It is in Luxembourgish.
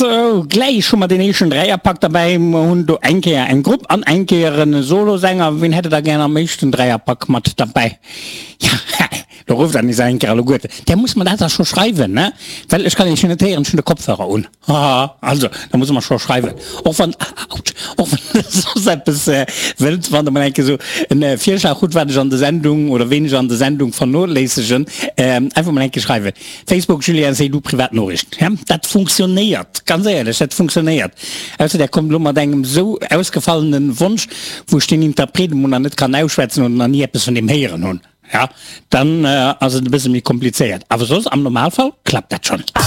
Sou, gläich hu mer deen éischten Dräierpak derbäi. Mer hunn do eng Kéier eng Grupp an eng Kéier e Solosänger. Wien hätt der da gär am éischten Dräierpak mat derbäi? Ja, do rufft der nees eng Kéier alleguerten. Där muss mer dat da scho schreiwen, ne? Well ech kann Iech jo net héieren, ech hunn de Kopfhörer un. Haha, also da muss mer scho schreiwen, och wann, autsch, och wann der soss eppes wëllt, wann der mol eng Kéier esou en Virschlag hutt, wat ech an der Sendung oder ween ech an der Sendung vernoléissegen, einfach mol eng Kéier schreiwen. Facebook, Julien Seydoux, privat Noriicht. Ja, dat funktionéiert, ganz éierlech, dat funktionéiert. Ausser der kommt elo mat engem esou ausgefallenen Wonsch, wou ech den Interpret emol nach net kann ausschwätzen oder nach ni eppes vun deem héieren hunn, ja, dann ass et e bësse méi komplizéiert. Awer soss am Normalfall klappt dat schonn.